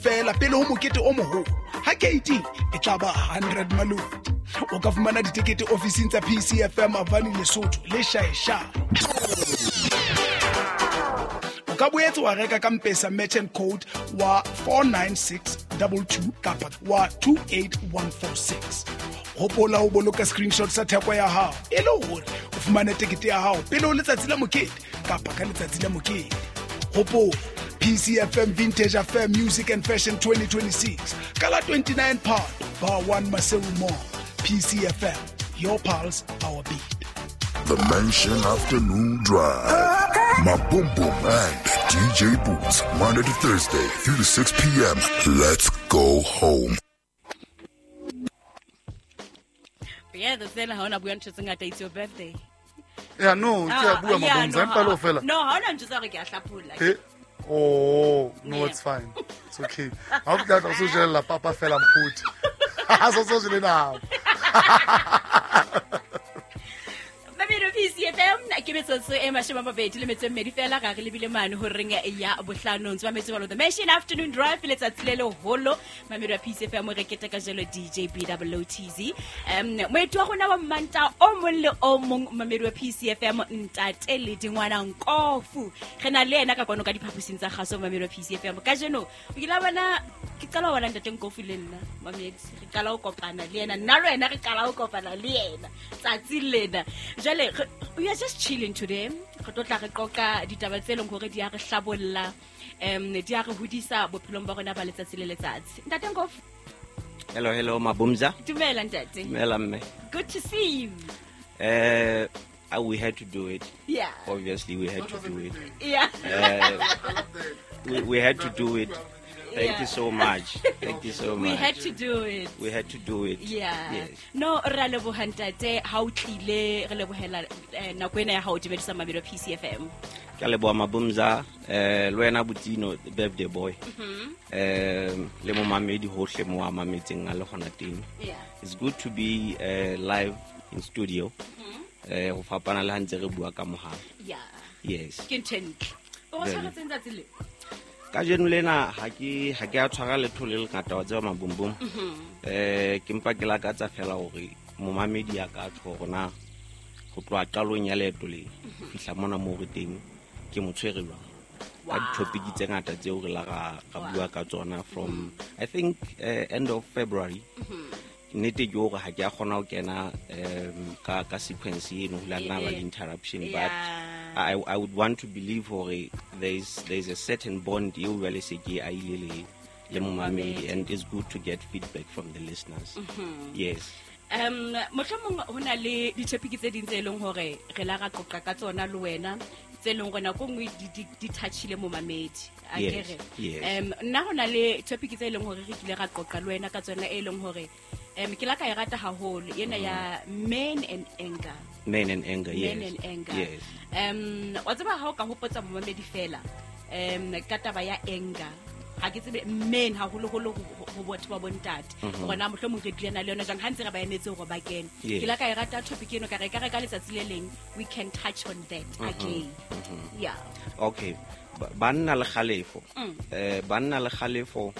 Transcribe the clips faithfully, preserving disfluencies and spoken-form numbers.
feela pele ho mokete o moholo. Ha keiti e tla ba hundred maloti. O ka fumana ditekete ofising tsa P C F M Avani Lesotho le Shaesha. O ka boetse wa reka ka M-Pesa merchant code wa four nine six double two kapa wa two eight one four six. Hopola ho boloka screenshot sa theko ya hao e le hore o fumane tekete ya hao pele ho letsatsi la mokete kapa ka letsatsi la mokete. Hopola P C F M Vintage Affair Music and Fashion twenty twenty-six ka la twenty-nine Phato Bar one Maseru Mall. P C F M, your pulse, our beat. The Mansion Afternoon Drive. Maboom Boom and D J Boots, Monday to Thursday, three to six P M. Let's go home. Yeah, the thing I wanna bua ntho tse ngata, it's your birthday. Yeah, no, ke a bua Ah, yeah, Mabomza, no, empa le ho fela. No, ha ona ntho tsa hore ke a hlapholla. Eh, oh, no, Yeah. it's fine. It's okay. Ha o tla tla o so jella papa fela mphuthi. Ha so so jele now. P C F M ke metsotso e mashome a mabedi le metso e mmedi fela ga re lebile mane ho reng ya bohlano ntse ba metse ba lo The Mansion Afternoon Drive letsatsi le leholo mamedi wa P C F M re keteka jalo D J B O O T Z. Um moeti wa rona wa Mmanta o mong le o mong mamedi wa P C F M ntate le dingwana Nkofu re na le yena ka kwano ka diphaposing tsa kgaso mamedi wa P C F M kajeno o kile wa bona ke qala ho bona ntate Nkofu le nna mamedi re qala ho kopana le yena nna le wena re qala ho kopana le yena tsatsi lena jwale we are just chilling today. Re tlo tla re qoqa ditaba tse leng hore di a re hlabolla, um di a re hodisa bophelong ba rona ba letsatsi le letsatsi. Ntate Nkofu. Hello, hello, Mabumza. Dumela ntate. Dumela mme. Good to see you. Uh, we had to do it. Yeah. Obviously we had to do it. Yeah. Uh, we, we had to do it. Thank Yeah. you so much. Thank you so We much. had to do it. We had to do it. Yeah. Yes. No, re a leboha ntate ha o tlile re lebohela, eh, nako ena ya ha o dumedisa mamedi wa P C F M. Ke a leboha Mabumza, eh, le wena Butino, the birthday boy. Mm-hmm. Eh, le momamedi hohle mo a mametseng a le hona teng. Yeah. It's good to be, eh, live in studio. Mm-hmm. Eh, ho fapana le ha ntse re bua ka mohala. Yeah. Yes. Ke ntho e ntle. O re Very. tshwaretseng tsatsi le? Kajeno lena ha ke, ha ke a tshwara letho le lengata wa tseba Mabombom. Mm-hmm. Eh, ke mpa ke lakatsa fela hore momamedi a ka tjho hore na ho tloha qalong ya leeto le Mm-hmm. fihla mona moo re teng ke mo tshwere jwang. Ka Wow. di-topic tse ngata tseo re la ra, ra Wow. bua ka tsona from I think, eh, end of February. Mm-hmm. Nnete ke hore ha ke a kgona ho kena, um, ka, ka sequence eno, ho la nna ba le interruption, but Yeah. I, I would want to believe hore there is, there is a certain bond eo jwale se ke a ile le, le momamedi, and it's good to get feedback from the listeners. Mm-hmm. Yes. Um, mohlomong ho na le di-topic tse ding tse leng hore re la ra qoqa ka tsona le wena, tse leng hore nako e nngwe di, di, di touchile momamedi. A Yes, ke re? yes. Um, nna ho na le topic tse leng hore re kile ra qoqa le wena ka tsona e leng hore, um, ke la ka e rata haholo, ena ya men and anger. Men and anger, yes. Men and anger. Yes. Um, wa tseba ha o ka hopotsa momamedi fela, um, ka taba ya anger. Ha ke tsebe men haholoholo ho, ho, ho batho ba bontate. Mm-hmm. Hore na mohlomong re tlile na le yona jwang, ha ntse re ba emetse hore ba kene. Yes. Ke la ka e rata topic eno, ka re, ka re ka letsatsi le leng, we can touch on that Mm-hmm. again. Mm-hmm. Yeah. Okay. Ba-, banna le kgalefo. Mm. Eh, banna le kgalefo,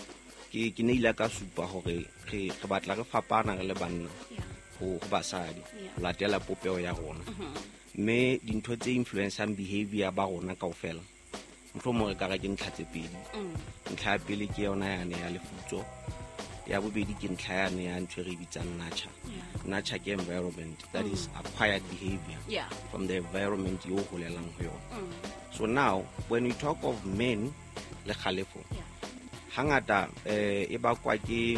ke, ke ne ile ka supa hore re, re batla re fapana re le banna. Yeah. Ho, ho basadi. Yeah. Ho latela popeho ya rona. Mm-hmm. Mme dintho tse influencang behavior ba rona kaofela, mohlomong re ka re ke ntlha tse pedi. Mm. Ntlha ya pele ke yona yane ya lefutso. Ya bobedi ke ntlha yane ya ntho e re bitsang nurture. Yeah. Nurture ke environment, that Mm. is acquired behavior Yeah. from the environment eo holelang ho yona. Mm. So now when we talk of men le kgalefo, Yeah. hangata, eh, e bakwa ke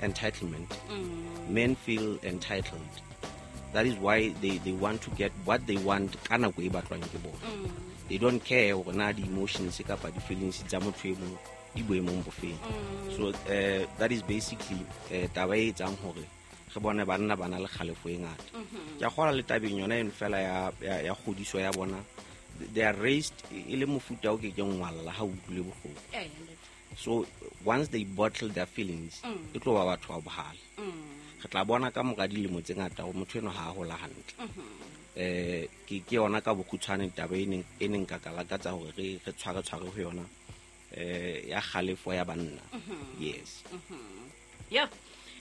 entitlement. Mm. Men feel entitled. That is why they, they want to get what they want ka nako e batlwang ke bona. Mm. They don't care hore na di-emotions kapa di-feelings tsa motho e mong di boemong bofeng. Mm. So, eh, that is basically, eh, taba e etsang hore re bone banna ba na le kgalefo e ngata. Mm-hmm. Ke a kgolwa le tabeng yona eno fela ya, ya, ya kgodiso ya bona, they are raised e le mofuta o kekeng wa lla ha o utlwile bohloko. Eh, ntate. So once they bottle their feelings, Mm. e tlo ba batho ba bohale. Mm. Re tla bona ka mora dilemo tse ngata hore motho enwa ha a hola hantle. Mm-hmm. Eh, ke, ke yona ka bokgutshwane taba e neng, e neng ka ka lakatsa hore re, re tshware tshware ho yona, eh, ya kgalefo ya banna Mm-hmm. Yes. Yeah.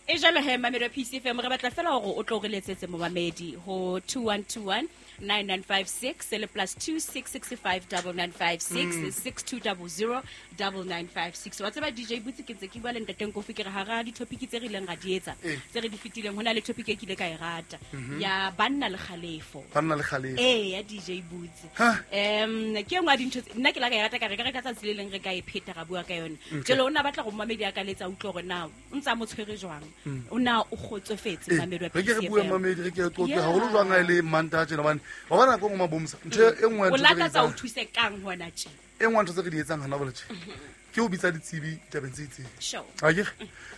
E jalo he mamedi wa P C F M re batla fela hore o tlo re letsetse momamedi ho two one two one nine nine five six le plus two six six five nine nine five six six two zero zero nine nine five six. Wa tseba D J Boots ke ntse ke bua le ntate Nkofi ke re hara di-topic tse re ileng ra di etsa tse re di fetileng hona le topic e kile ka e rata ya banna le kgalefo. Banna le kgalefo. Eh ya D J Boots. Em ke engwe ya dintho nna ke la ka e rata ka re ka re ka tsatsi le leng re ka e pheta ra bua ka yona. Jalo o na batla go momamedi a ka letsa utlwe hore na o ntsa mo tshwere jwang. O na o kgotsofetse mamedi wa Re ke re bue mamedi re ke qoqe haholo jwang ha ile Mantaha tjena bane wa bona go ngoma bomsa ntho e nngwe o lakatsa o thuse kang hona tje e nngwe ntho tse re di etsang hana bole tje ke o bitsa ditsibi tabeng tse itseng. Sure. Ha ke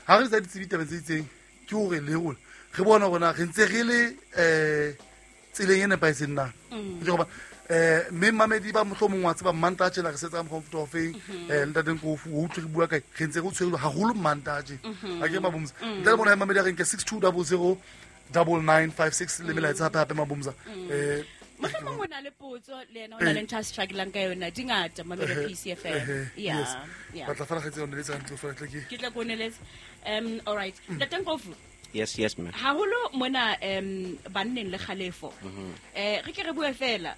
ha re bitsa ditsibi tabeng tse itseng ke hore le rona re bona hore re ntse re le eh tseleng e nepahetseng na. Ke hoba eh mme mamedi ba mohlomong wa tseba Mantaha tjena re setsa mokgwa o feng eh ntate Nkofu o utlwe re bua kae re ntse re tshwerwe haholo Mantaha tje. Ha ke mabomsa ntate bona mamedi a re nke six two zero zero nine nine five six le melaetsa hape hape mabomsa eh mohlomong o na le potso le yena o na le ntho a struggling ka yona di ngata mamedi P C F M. Yeah. Yeah. Batla fela kgetse yone le tsa ntlo fela tle ke ke tla koneletsa. Um all right. Ntate Nkofu. Yes, yes ma'am. Haholo mona um banneng le kgalefo. Eh re ke re bue fela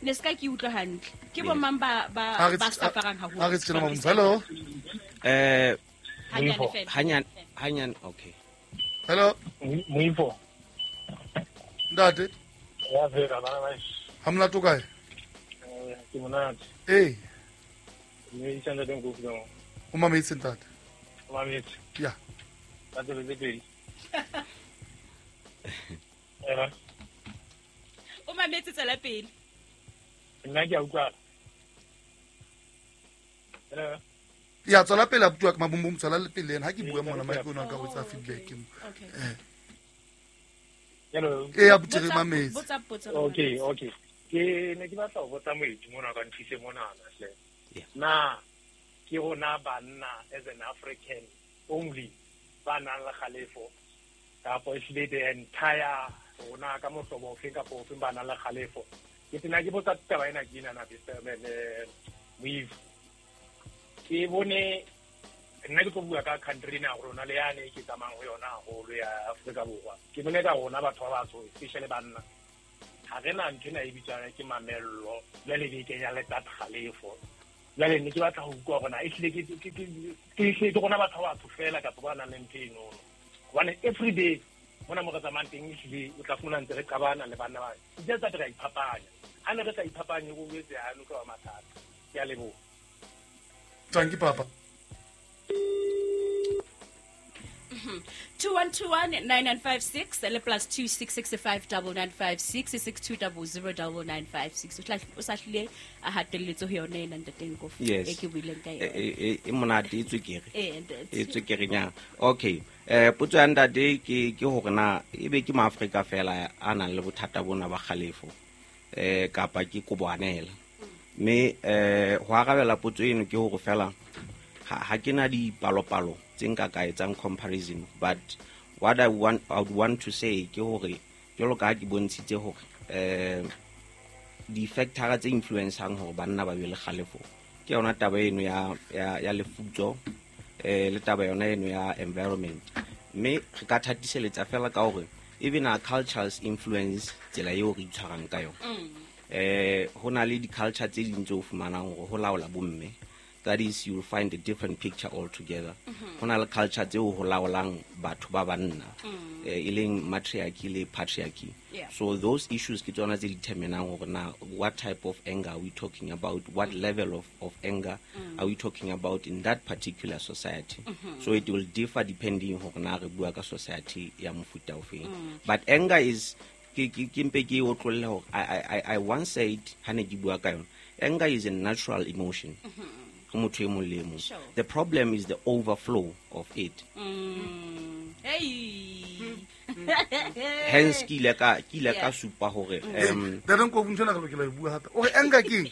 ne ska ke utlwa hantle. Ke bo mang ba ba ba safarang haholo. Ha re tsena mabomsa. Hello. Eh hanyane fela. Hanyane hanyane okay. Hello. Moifo. Ntate. Ya vera bana ba. Ha molato kae? Eh ke monate. Eh. Mme itse ntate Nkofu ka. O mametse ntate. O mametse. Ya. Ba tsebe pedi. Eh. O mametse tsela pele. Nna ke a utlwa. Hello. Ya tswela pele abuti wa mabumbum tswela le pele ha ke bua mona mike ona ka go tsa feedback. Okay. Eh. Hello. Eh abuti re mametse. Botsa potso. Okay, okay. Ke ne ke batla ho botsa moeti mona ka nthuse mona hle. Na ke rona banna as an African only ba nang le kgalefo kapa ehlile the entire rona ka mohlobo ofe kapa ofe ba nang le kgalefo. Ke tena ke botsa taba ena ke ena na Moifo. Ke bone nna ke tlo bua ka country ena rona le yane ke tsamayang ho yona haholo ya Afrika Borwa. Ke bone ka rona batho ba batsho especially banna ha re na ntho ena e bitswang ke mamello jwale be kenya le tsa kgalefo. Jwale ne ke batla ho utlwa hore na ehlile ke ke ke ke ke rona batho ba batsho fela kapa ba nang le ntho eno. Hobane every day mona mo re tsamayang teng ehlile o tla fumana ntse re qabana le banna ba. Ke tsa re iphapanya. Ha ne re sa iphapanye go etse ha no ka mathata. Ke a leboha. Thank you papa. two one two one nine nine five six le plus two six six five nine nine five six six two zero zero nine nine five six. O sa hlile a hatelletse ho yona ena ntate Nkofu e ke buileng ka yona. E e monate e tswekere. Eh ntate. E tswekere nya. Okay. Eh potso ya ntate ke ke hore na ebe ke maAfrika fela a nang le bothata bona ba kgalefo eh kapa ke koboanela. Mme eh ho arabela potso eno ke hore fela ha ke na dipalopalo tse nka ka etsang comparison, but what I want I would want to say ke hore jwalo ka ha ke bontshitse hore eh di factor tse influencang hore banna ba be le kgalefo ke yona taba eno ya ya ya lefutso eh le taba yona eno ya environment. Mme re ka thatiseletsa fela ka hore even our cultures influence tsela eo re itshwarang ka yona. Eh ho na le di culture tse ding tse o fumanang hore ho laola bomme. That is, you'll find a different picture altogether. Ho na le culture tseo ho laolang batho ba banna, e leng matriarchy le patriarchy. Yeah. So those issues ke tsona tse determinang hore na what type of anger are we talking about, what mm. level of, of anger mm. are we talking about in that particular society. Mm-hmm. So it will differ depending hore na re bua ka society ya mofuta ofeng. Mm. But anger is ke ke ke mpe ke otlolle hore I I I once said ha ne ke bua ka yona, anger is a natural emotion. Mm-hmm. Sure. The problem is the overflow of it. Mm. Hey. Hence ke ile ka ke ile ka supa hore um da re nko ntho na re lokela ho bua hape. O re anger ke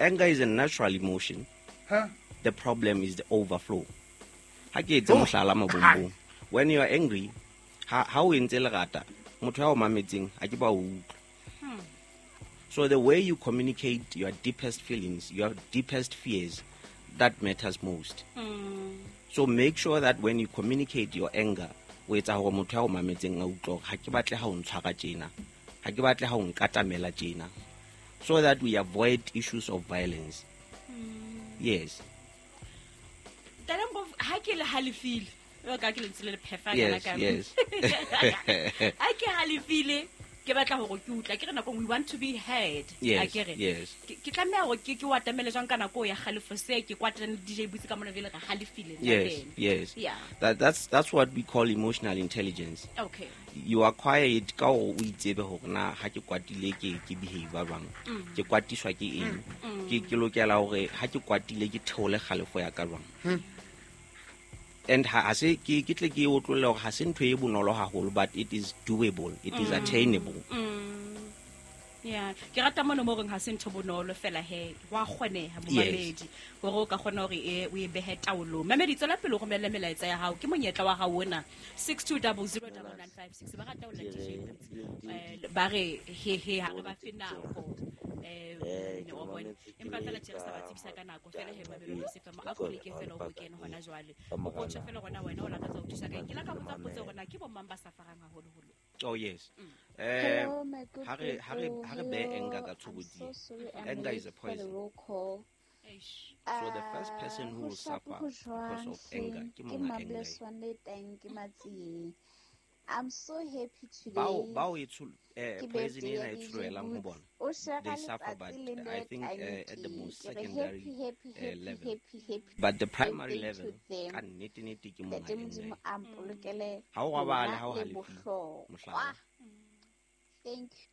anger is a natural emotion. Huh? The problem is the overflow. Ha ke etse mohlala mabombong. When you are angry, ha ha o entse lerata, motho ya o mametseng ha ke ba o utlwa. So the way you communicate your deepest feelings, your deepest fears, that matters most. Mm. So make sure that when you communicate your anger, o etsa hore motho ya o mametseng a utlwe hore ha ke batle ha o ntshwara tjena, ha ke batle ha o nkatamela tjena, so that we avoid issues of violence. Mm. Yes. Ha ke le halefile, ka ke lentswe le le phefa Yes, yes. Ha ke halefile, ke batla hore ke utlwa, ke re nako we want to be heard. Yes, Akere. yes. Ke ke tlameha hore ke ke o atamele jwang ka nako ya kgalefo se ke kwatane le D J Boots ka mona vele re halefile nna Yes, le ena. yes. Yeah. That, that's, that's what we call emotional intelligence. Okay. You acquire it ka hore o itsebe hore na ha ke kwatile ke ke behave jwang. Mm. Ke kwatiswa ke eng? Mm. Ke ke lokela hore ha ke kwatile ke theole kgalefo ya ka jwang. Mm. And ha se ke ke tle ke otlolle hore ha se ntho e bonolo haholo, but it is doable, it is Mm. attainable. Mm. Yeah, ke rata mono mo reng ha se ntho bonolo fela he, wa kgoneha momamedi hore o ka kgona hore e o e behe taolong. Mamedi, tswela pele o romelle melaetsa ya hao, ke monyetla wa hao ona six two double zero double nine five six. Ba rata ho la D J Boots. Eh, ba re he he ha re ba fe nako. Eh, o bone. Empa fela tjhe re sa ba tsebisa ka nako fela he mamedi o se fema a koleke fela o kene hona jwale. O botse fela rona wena o lakatsa ho thusa ka eng. Ke la ka botsa potso hore na ke bo mang ba safarang haholoholo. Oh yes. Eh, Hello, my good ha re ha re people. ha re be anger ka Hello. I'm tshobotsi. so sorry I'm Anger is late a for the poison. roll call. Eish. So the first person Uh, who ho will sharp suffer ho because jwang of anger hleng? ke Ke monga anger. Mableswane le teng ke Matsieng. I'm so happy Bao today. bao e tshol eh Ke poison birthday ena ya e D J tsholohelang ho Boots. bona. O share They suffer, letsatsi but le I nna think uh, at the tanki. most Ke re secondary happy, happy, uh, happy, level. happy, happy But the primary birthday to level them. ka nnete nnete ke monga Ntate anger. Modimo a mpolokele Ha o robale, lona ha o le halefile, bohlokwa. mohlala. Thank you.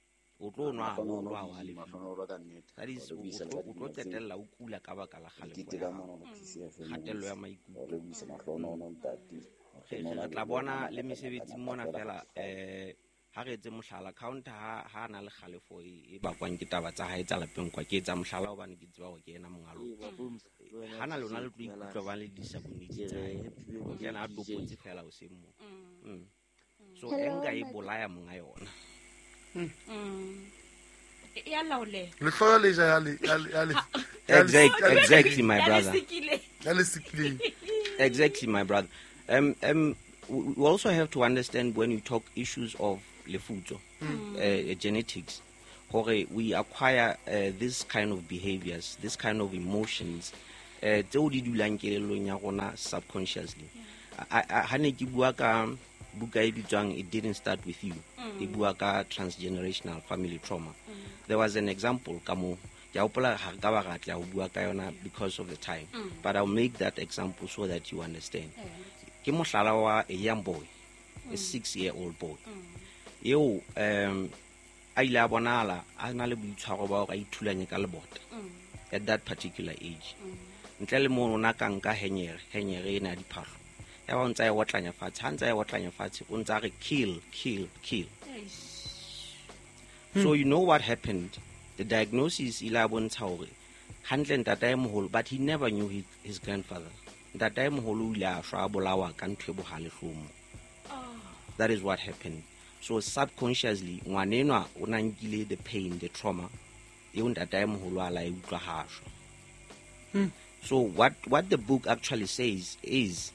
O tlo nwa haholo Mahlohonolo ha o D J, halefile. mahlohonolo ka nnete. That is, Re o lebohisa le tlo ka o tlo dipina tseo. qetella o kula ka baka la Re kgalefo kete ya ka hao. mona ho P C F M Kgatello ya Motse. maikutlo. Re lebohisa mahlohonolo ntate. Re re Mahlohonolo re a tla leboha bona ka le matla mesebetsing ngata mona fela fela ha eh ha re etse mohlala counter ha ha na le kgalefo e e bakwang ke taba tsa hae tsa lapeng kwa ke etsa mohlala hobane ke tseba hore ke yena monga lona. Ha na lona le tlo ikutlwa ba le disabonitse tsa hae. O kena a topotse fela hoseng moo. Mm. So Hello, anger e my bolaya monga yona. Mm. E ya laoleha. Lehloyo le ja ya le ya le ya le ya le Exactly, ya le exactly my Ya le brother. sikile. ya le sikileng. Exactly, my brother. Um, um, we we also have to understand when you talk issues of lefutso, uh, genetics, hore we acquire uh, this kind of behaviors, this kind of emotions, uh, tseo di dulang kelellong ya rona subconsciously. I- I- Ha ne ke bua ka buka e bitswang It Didn't Start With You, e bua ka transgenerational family trauma. There was an example ka moo. Ke a hopola ha re ka ba ra tla ho bua ka yona because of the time, but I'll make that example so that you understand. Ke mohlala wa a young boy, a six year old boy eo um a ile a bonahala a na le boitshwaro ba hore a ithulanye ka lebota at that particular age. Ntle le mono o na ka nka henyere, henyere ena ya diphahlo, ya ba o ntsa e otlanya fatshe. Ha ntsa e otlanya fatshe, o ntsa re kill, kill, kill. So you know what happened? The diagnosis ile a bontsha hore hantle ntatae moholo, but he never knew his, his grandfather. Ntatae moholo o ile a shwa a bolawa ka ntho e bohale hlomo. That is what happened. So subconsciously, ngwanenwa o na nkile the pain, the trauma eo ntatae moholo a la e utlwa ha a shwa. So what, what the book actually says is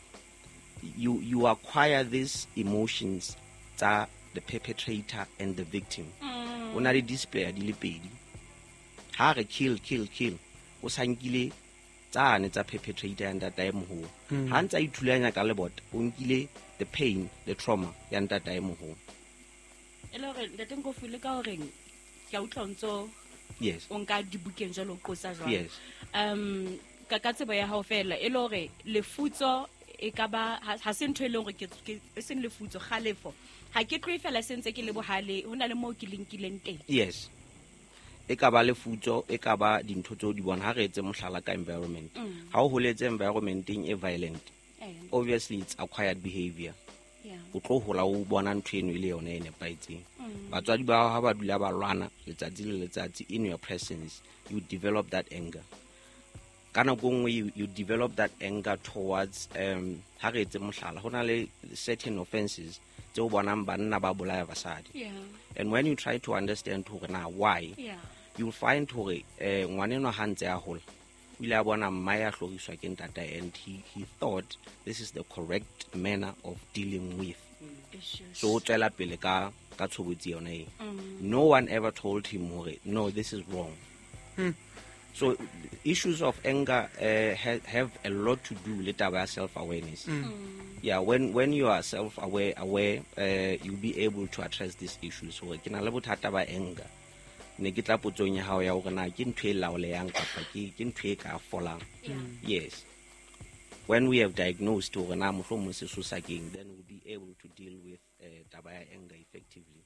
you, you acquire these emotions tsa the perpetrator and the victim. O na le display di le pedi. Ha re kill, kill, kill, o sa nkile tsane tsa perpetrator ya ntatae moholo. Ha ntsa ithulanya ka lebota, o nkile the pain, the trauma ya ntatae moholo. E le hore ntate Nkofu le ka horeng ke a utlwa o ntso Yes. o nka dibukeng jwalo o qosa jwalo. Yes. Um ka ka tsebo ya hao fela e le hore lefutso e ka ba ha ha se ntho e leng hore ke ke- e seng lefutso kgalefo. Ha ke tlohe fela se ntse ke le bohale, ho na le moo ke linkileng teng. Yes. E ka ba lefutso, e ka ba dintho tseo di bona. Ha re etse mohlala ka environment. Ha o holetse environmenteng e violent, Eh, obviously it's acquired behavior. yeah. O tlo hola o bona ntho eno e le yona e nepahetseng. Batswadi ba hao ha ba dula ba lwana letsatsi le letsatsi in your presence, you develop that anger. Ka nako e nngwe you, you develop that anger towards um ha re etse mohlala, ho na le certain offenses tseo bonang banna ba bolaya basadi. Yeah. And when you try to understand hore na why, Yeah. you'll find hore eh ngwanenwa ha ntse a hola, O ile a bona mmae a hloriswa ke ntatae and he, he thought this is the correct manner of dealing with. Issues. So o tswela pele ka ka tshobotsi yona e. No one ever told him hore no, this is wrong. So issues of anger uh, ha- have a lot to do le taba ya self awareness. Yeah, when when you are self aware aware uh, you'll be able to address these issues. Hore ke na le bothata ba anger, ne ke tla potsong ya hao ya hore na ke ntho e laolehang kapa ke ke ntho e ka folang. Yeah. Yes, when we have diagnosed hore na mohlomong sesosa keng, then we'll be able to deal with uh, taba ya anger effectively.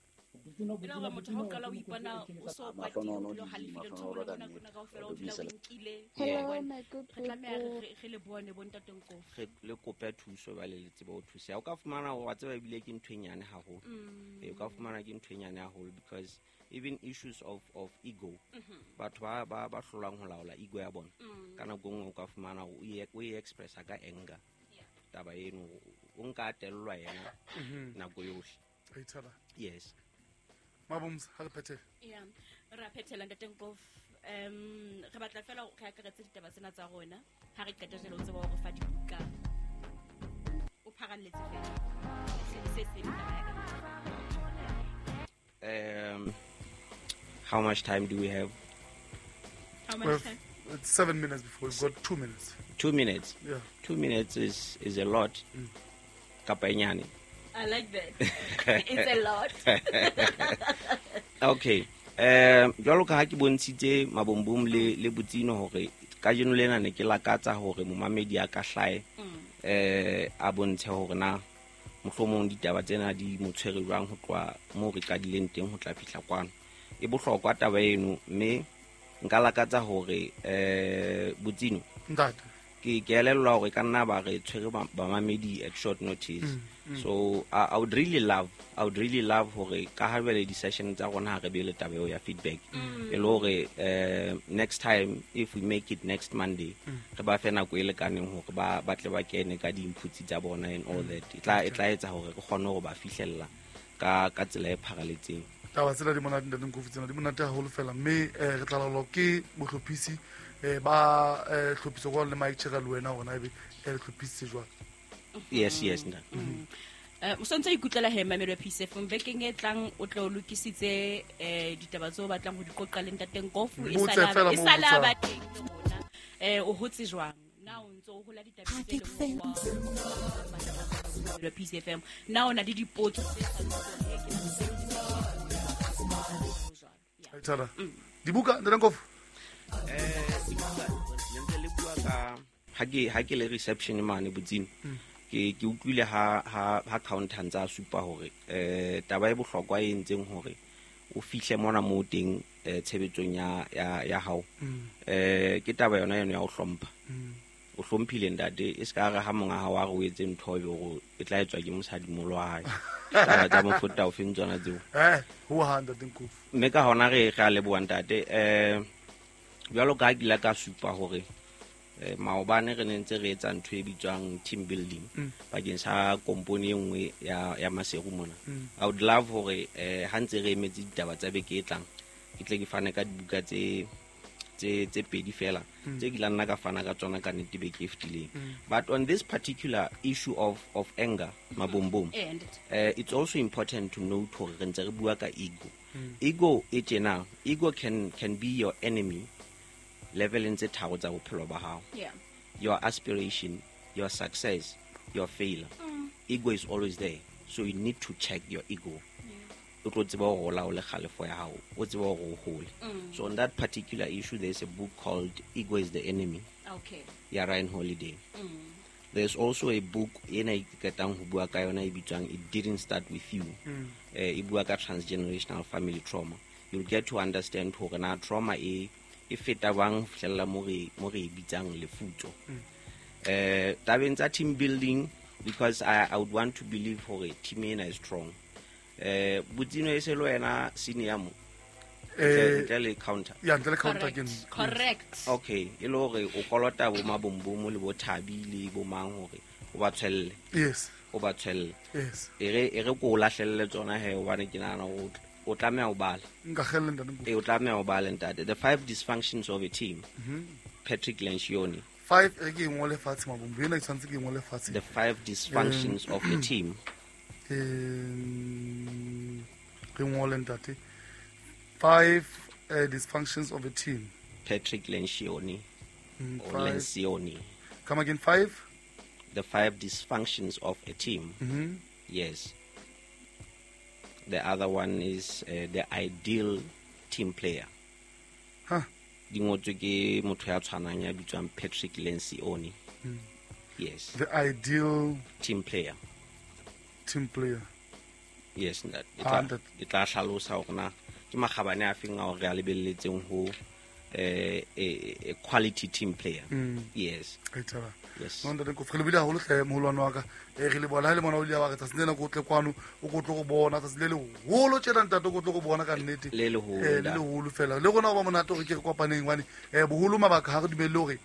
E le hore motho ha o qala o ipona o so kwatile, o dula o halefile, ntho e nngwe le e nngwe nako ena kaofela o dula o nkile. Hello, Wa bona? my good Re tlameha re people. re- re le bone bo ntate Nkofi. Re le kope thuso jwale le tsebe ho thuseha. O ka fumana hore wa tseba ebile ke ntho e nyane haholo. Ee, o ka fumana ke ntho e nyane haholo because even issues of of ego, batho ba ba ba hlolang ho laola ego ya bona, ka nako e nngwe o ka fumana hore o e o e expressa ka anger taba eno, o nka a tellwa yena nako yohle. A ithala. Yes. Mabomsa, ha re phethele. Yeah, re a phethela ntate Nkofi. Um re batla fela re akaretse ditaba tsena tsa rona. Ha re qeta jwale o tseba hore fa dibuka. O pharalletse fela. Se se se taba ya ka. um how much time do we have? How much We have time? It's seven minutes before. We've got two minutes. Two minutes. Yeah. Two minutes is is a lot kapa e nyane? I like that. It's a lot. Okay, um jwalo ka ha ke bontshitse Mabombom le le Botsino hore kajeno lena ne ke lakatsa hore momamedi a ka hlae eh a bontshe hore na mohlomong ditaba tsena di mo tshwere jwang ho tloha moo re qadileng teng ho tla fihla kwano. E bohlokwa taba eno, mme nka lakatsa hore eh Botsino, Ntate. ke ke elellwa hore ka nna ba re tshwere ba- bamamedi at short notice. So I, I would really love I would really love hore ka ha jwale di-session tsa rona ha re be le taba eo ya feedback, e le hore eh, next time, if we make it next Monday, re ba fe nako e lekaneng hore ba ba tle ba kene ka di-inputs tsa bona and all that. E tla e tla etsa hore re kgone hore ba fihlella ka ka tsela e pharaletseng. Taba tsena di monate, ntate Nkofi, tsena di monate haholo fela, mme eh, re tla laolwa ke mohlophisi eh, ba eh, hlophiso kwano le Mike Chera le wena hore na ebe eh, le hlophisitse jwang. Yes, yes, ntate. Eh, o santse o ikutlwela he mamelo ya P C F M, bekeng e tlang o tle o lokisitse eh ditaba tseo o batlang ho di qoqa le ntate Nkofu. E Botse sala fela e moo sala botsang. Ba teng le rona. Eh o hotse jwang na o ntso o hola ditabeng tse leng hore wa ya P C F M, na o na le dipotso tse sa ntseng ke na le jwalo? Yeah. A ithala. Dibuka, ntate Nkofu. Eh, dibuka, ne ntse le bua ka ha ke ha ke le reception mane Botsino, ke ke utlwile ha ha ha counter ntse a supa hore eh taba e bohlokwa e entseng hore o fihle mona mo teng eh, tshebetsong ya ya ya hao eh ke taba yona eno ya ho hlompha. O hlomphile ntate, e ska re ha monga hao a re o etse ntho e be hore e tla etswa ke mosadimolo wa hae. Taba tsa mofuta o feng tsona tseo? Eh, ho ha ntate Nkofu. Mme ka hona re re a leboha ntate. eh jwalo ka ha ke ile ka supa hore eh, maobane re ne ntse re etsa ntho e bitswang team building bakeng sa kompone e nngwe ya ya Maseru mona. I would love hore eh ha ntse re emetse ditaba tsa beke e tlang, ke tle ke fane ka dibuka tse tse tse pedi fela tse ke la nna ka fana ka tsona ka nnete beke e fetileng. But on this particular issue of of anger, Mabombom, Eh, ntate. uh, it's also important to note hore re ntse re bua ka ego. Ego e tjena, ego can can be your enemy leveleng tse tharo tsa bophelo ba hao: Yeah. your aspiration, your success, your failure. Ego is always there, so you need to check your ego, o tlo tseba hore o laole kgalefo ya hao, o tsebe hore o hole. So on that particular issue, there's a book called Ego Is the Enemy Okay. ya Ryan Holiday. There's also a book ena e ke qetang ho bua ka yona e bitswang It Didn't Start With You. Eh, e bua ka transgenerational family trauma. You'll get to understand hore na trauma e e feta bang ho fihlella mo re mo re e bitsang lefutso. Eh tabeng tsa team building, because I, I would want to believe hore team ena is strong. Eh Botsino, e se le wena senior mo Eh, ntle le counter? Ya, ntle le counter ke Correct. nna. Correct. Okay, e le hore o kolota bo Mabombomo le bo Thabi le bo mang hore o ba tshwelle? Yes. O ba tshwelle. Yes. E re e re ko o lahlelle tsona he, hobane ke nahana hore o tl- o tlameha ho bala. Nka kgelle, ntate Nkofu. E o tlameha ho bala, ntate, The Five Dysfunctions of a Team. Patrick Lencioni. Five e ke ngole fatshe mabombo ena ke tshwantse ke ngole fatshe. The five dysfunctions um, of the team. Um re ngole ntate. Five uh, dysfunctions of a team. Patrick Lencioni. Mm, or Lencioni. Come again, five? The five dysfunctions of a team. Mm-hmm. Yes. The other one is uh, the ideal team player. Huh. Di ngotswe ke motho ya tshwanang ya bitswang Patrick Lencioni. Mm. Yes. The ideal team player. Team player. Yes, that. E tla e tla hlalosa hore na ke makgabane a feng a hore a lebelletseng ho eh a quality team player. Mm. Yes. Aitara. Yes. No ntate ko re lebile haholo hle moholwane wa ka. E re le bona le mona o ile wa re tsatsi lena ko tle kwano o ko tlo go bona tsatsi le leholo tjena ntate ko tlo go bona ka nnete. Le leholo. Eh le leholo fela. Le rona ba monate hore ke re kopaneng hobane eh boholo mabaka ha re dumelle hore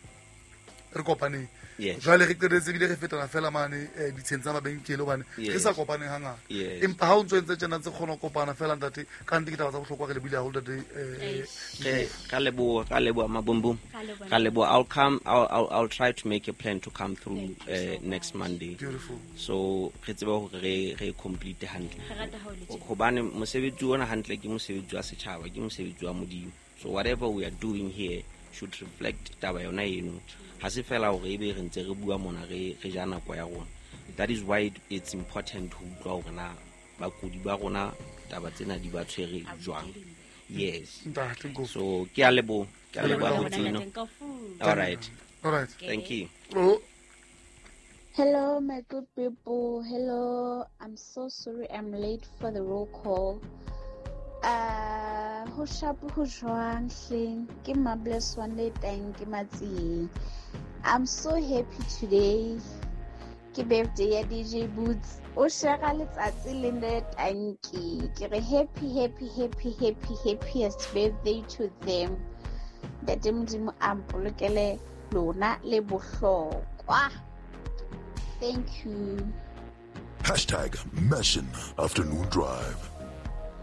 re kopaneng. Yes. Jwale re qetetse ebile re fetana fela mane ditsheng tsa mabenkele hobane re sa kopaneng hangata. Empa ha o ntso entse tjena tse kgona ho kopana fela ntate ka nnete ke taba tsa bohlokwa re lebile haholo ntate eh eh ka leboha ka leboha mabombom. Ka leboha. I'll come I'll, I'll I'll try to make a plan to come through uh, next Monday. Beautiful. So re tsebe hore re re complete hantle. Hobane mosebetsi ona hantle ke mosebetsi wa setjhaba, ke mosebetsi wa Modimo. So whatever we are doing here should reflect taba yona eno. Ha se fela hore ebe re ntse re bua mona re re ja nako ya rona. That is why it's important ho utlwa hore na bakudi ba rona taba tsena di ba tshwere jwang. Yes. So ke a leboha, ke a leboha Botsino. All right. All right. Thank you. Oh. Hello my good people. Hello. I'm so sorry I'm late for the roll call. Uh, ho sharp ho jwang hleng ke Mabless one le teng ke Matsieng. I'm so happy today. Ke birthday ya D J Boots. O share letsatsi le le tanki. Ke re happy happy happy happy happiest birthday to them. Ntate Modimo a mpolokele lona le bohlokwa. Thank you. Hashtag Mission Afternoon Drive.